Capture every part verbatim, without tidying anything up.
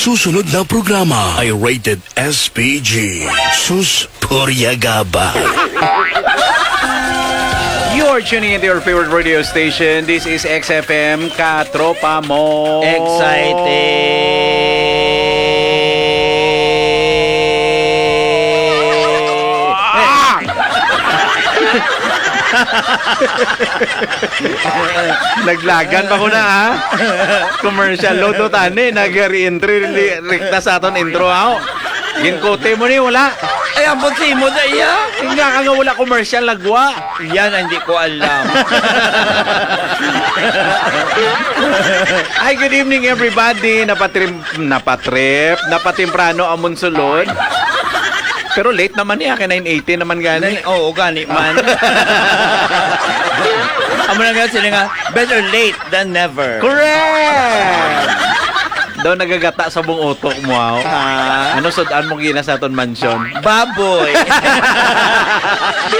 Susunod na programa ay rated S P G. Sus, purya gaba. You're tuning into your favorite radio station. This is X F M, Katropa Mo. Excited. Naglagan pa ko na, ha? Commercial load to, tani. Nag-re-entry, li- rikta sa aton intro, ha? Ginkote mo ni, wala. Ay, ambot si mo na iya. Nga ka nga wala commercial, nagwa. Yan ang hindi ko alam. Hi, good evening, everybody. Napatrip, napatrip, napatimprano amon sulod. Pero late naman niya, kay nine eighty naman gani. Oo, gani man. Amo na nga sila nga, better late than never. Correct! Daw nagagata sa buong utok mo, aw. Ah. Ano sud-an mo gina sa aton mansion? Baboy.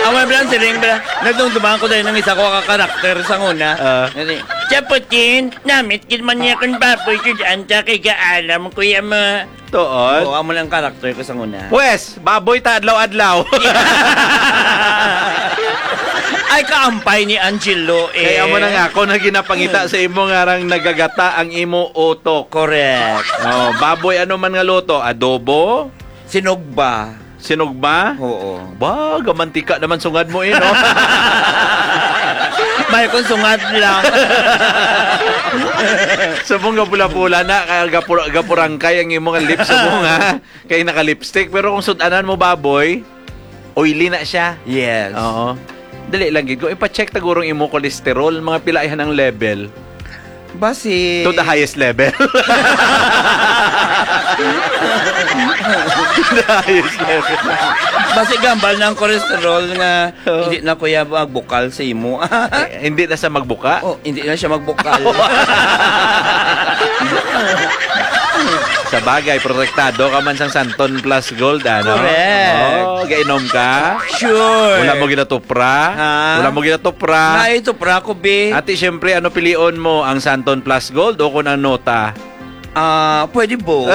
Ang mga bilang siling, bilang, nagdumduman ko dahil ng isa ko ka karakter sa una. Ah. Gani, Chaputin, namit gid man niya kung baboy, sud-an ta kay gaalam, kuya mo. Tuod? Oo, amo lang karakter ko sa una. Pwes, baboy ta adlaw-adlaw. Ay, kaampay ni Angelo eh. Kaya mo na nga, kung na ginapangita sa imo nga rang nagagata ang imo utok. Correct. Oh, baboy ano man nga luto, adobo, Sinugba. Sinugba? Oo. Ba, gamantika naman sungad mo eh, no? May kung sungad lang. Subong gapula-pula na, kaya gapur gapurangkay ang imong lips subong, ha? Kay naka-lipstick. Pero kung sudanan mo baboy, oily na siya. Yes. Oo. Dali lang gid. Kung ipa-check tagurong imo cholesterol, mga pila ay ang level. Basi. To the highest level. To the highest level. Basi gambal ng cholesterol nga Oo. hindi na kuya magbukal sa imo. Eh, hindi na sa magbuka? Oh, hindi na siya magbukal. Sa bagay, protektado ka man sang Santon Plus Gold, ano? Correct. Oh, gainom ka? Sure. Wala mo ginatupra? Ha? Wala mo ginatupra? Ay, tupra ko, be. Ati, siyempre, ano pilion mo? Ang Santon Plus Gold o kung ang Nota? Ah, pwede both.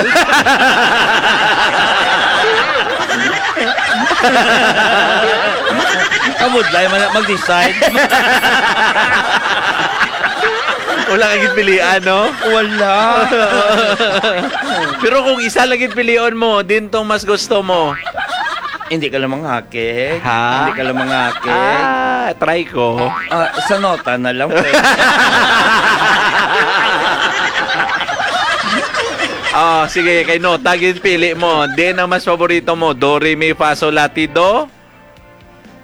Kabudlay man na mag-decide. Wala ka gid pilian, no? Wala. Pero kung isa lang gid pilion mo, din tong mas gusto mo. Hindi ka lang manghakig. Ha? Hindi ka lang manghakig. Ah, try ko. Ah, sa Nota na lang, pwede. Oh, sige, kay Nota gid pili mo. Din ang mas paborito mo, do, re, mi, fa, sol, la, ti, do?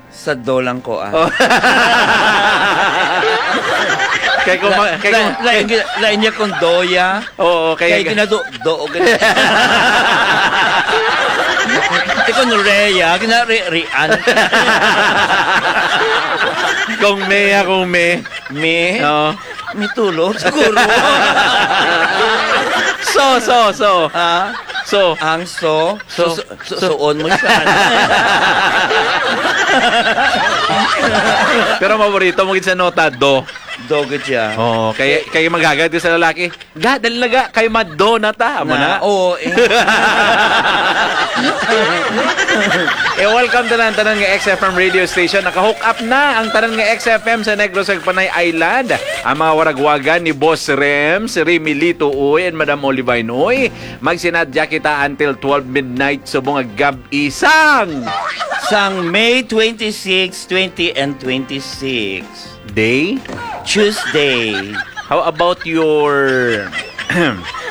Sa do lang ko, ah. Oh. Kay kung ma- kay La- kung la- lain, lain niya kung doya. Oo, kay Kay ginado, do, o gina- Ti kung reya, ginari-rian. Kung me, ah, kung me. Me? Oo. Me tulo, siguro. So, so, so. Ha? So, Ang so, So, so, so, so, suon mo siya. Pero paborito mo gid sa Nota, do. Do gid siya. Oh, kay kay magagad ka sa lalaki. Ga, dali na ga, kay mado na ta. Amo na. Oo, eh. Eh, welcome tanan, tanan nga X F M radio station. Naka-hook up na ang tanan nga X F M sa Negros ug Panay Island. Ang mga waragwagan ni Boss Rem, si Remy Lito, uy, and Madam Olivine, uy. Magsinadya kita until twelve midnight subong nga gab-i sang Sang May twenty-six, twenty, and twenty-six. Day? Tuesday. How about your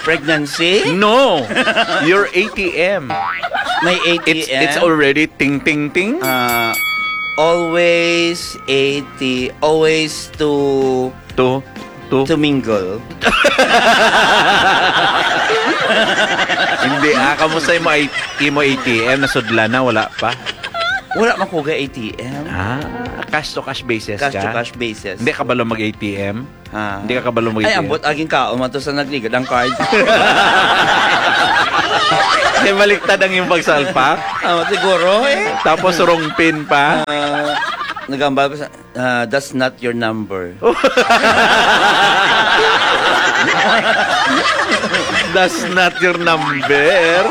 Pregnancy? No. Your A T M. May A T M? It's it's already ting ting ting. Ah, always A T, always to To to to mingle. Hindi, ah, kamusta imo I- imo A T M? Nasudla na, wala pa? Wala man ko ga A T M. Ah, cash to cash basis Cash ka? To cash basis. Hindi ka balo mag A T M? Ah. Hindi ka kabalo mag A T M? Ay, ambot, aging kaon man to sa nagligad ang card. Kay baliktad ang iyong pagsalpak. Oh, siguro eh. Tapos wrong pin pa. Ah, nagambal pa sa, ah, that's not your number. That's not your number.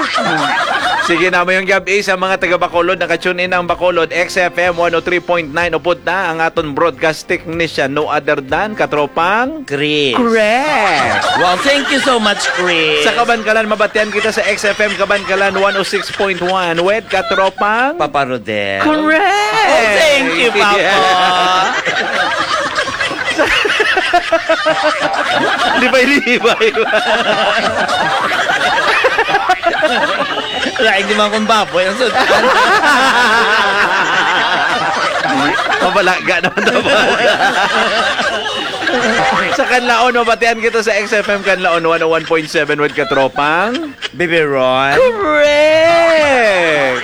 Sige na, mayong gabi sa mga taga Bacolod. Naka-tune in ang Bacolod, X F M one oh three point nine. Upod na ang aton broadcast technician, no other than katropang Chris. Correct. Wow, thank you so much, Chris. Sa Kabankalan, mabatian kita sa X F M Kabankalan one oh six point one with katropang Papa Rodel. Correct. Oh, thank you, Papa. Yeah. Di ba, di ba, di ba? Lain di man kung baboy ang sundan. Mabalaga naman daw. Sa Kanlaon, mabatian kita sa X F M Kanlaon one oh one point seven with katropang Bibiron. Correct!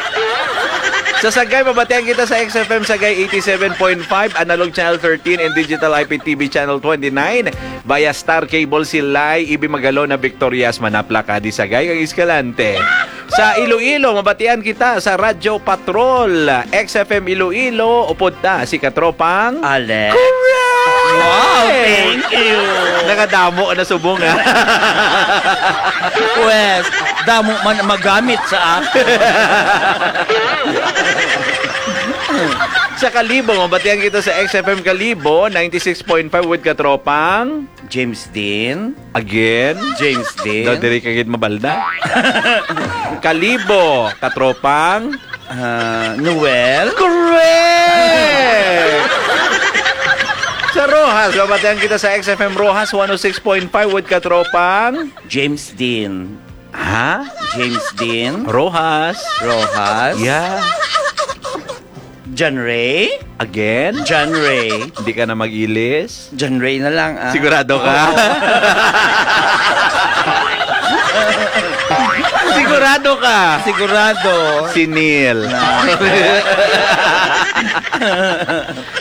Sa Sagay, mabatian kita sa X F M Sagay eighty-seven point five, Analog Channel thirteen, and Digital I P T V Channel twenty-nine. Via Star Cable, Silay, Ibi Magalona, Victorias, Manapla, Cadiz, Sagay, kag Escalante. Sa Iloilo, mabatian kita sa Radyo Patrol, X F M Iloilo, upod ta si Katropang Alex. Correct! Wow, thank you. Nakadamo na subong, ha? Pwes, damo man magamit sa akin. Sa Kalibo, mabatian kita sa X F M Kalibo, ninety-six point five with Katropang James Dean. Again? James Dean. Daw diri ka gid mabalda. Kalibo, katropang Ah, Noel. Correct! Sa Roxas, mabatian kita sa X F M Roxas one oh six point five with katropang James Dean. Ha? James Dean. Roxas. Roxas. Yeah. John Ray. Again? John Ray. Hindi ka na mag-ilis? John Ray na lang, ah. Sigurado ka? Oo. Sigurado ka? Sigurado. Si Neil. Na.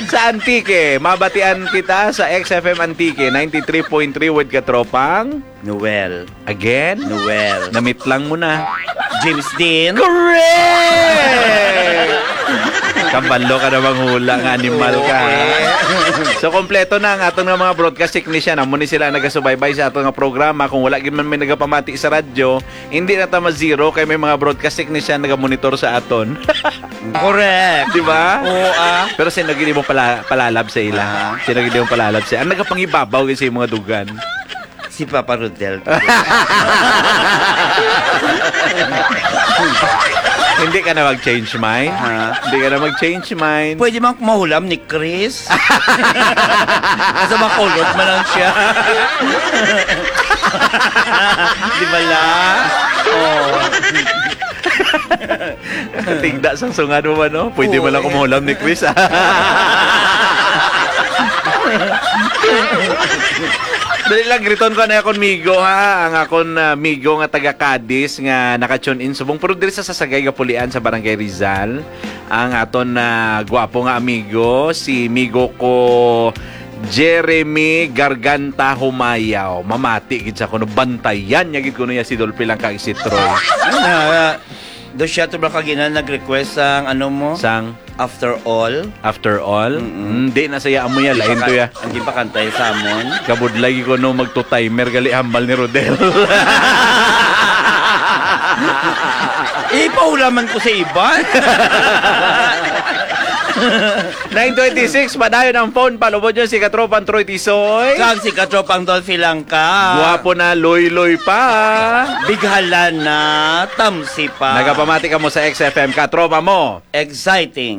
Sa Antique, mabatian kita sa X F M Antique, ninety-three point three with katropang Noel. Again? Noel. Namitlang mo na. James Dean. Correct! Kabalo ka na manghula nga animal ka, ha? Oo, eh. So, kompleto na ang aton nga mga broadcast technician. Amo ni sila nagasubaybay sa aton nga programa. Kung wala gid man may nagapamati sa radyo, hindi na ta ma-zero kay may mga broadcast technician nagamonitor sa aton. Correct. Di ba? Oo, ah. Pero sino gid mo pala, palalab sa ila? Ah. Sino gid mo palalab sa ila? Ang nagapangibabaw gid sa mga dugan. Si Papa Rodel. Hindi ka na mag-change mind? Ha? Hindi ka na mag-change mind? Pwede man mahulam ni Chris. Nasa makulot man lang siya. Di ba la? Oh. Tigda sang sungad mo ba, no? Pwede man lang Oo, eh. Kumulam ni Chris, ah. Dali lang, griton ko na akong migo, ha? Ang akon, ah, migo nga taga Cadiz nga naka-tune in subong. Pero diri sa Sasagay Gapulian sa Barangay Rizal, ang aton, ah, gwapo nga amigo, si migo ko Jeremy Garganta Humayaw. Mamati gid sa kuno, bantayan niya gid kuno ya si Dolphy lang kag si Troy. Ah, do siya to ba kagina nag-request sang ano mo? Sang After All. After All? Mm-mm. Mm, di na saya amo ya, lain to ya. Ang gipakantay sa amon. Kabudlay ko no magto-timer gali hambal ni Rodel. Ipahulaman ko sa iban. Nine twenty-six, padayon ang phone. Palubod nyo si Katropang Troy Tisoy. Kag si Katropang Dolphy Langka. Guwapo na, loy-loy pa. Bighala na, tamsi pa. Nagapamati ka mo sa X F M, katropa mo. Exciting.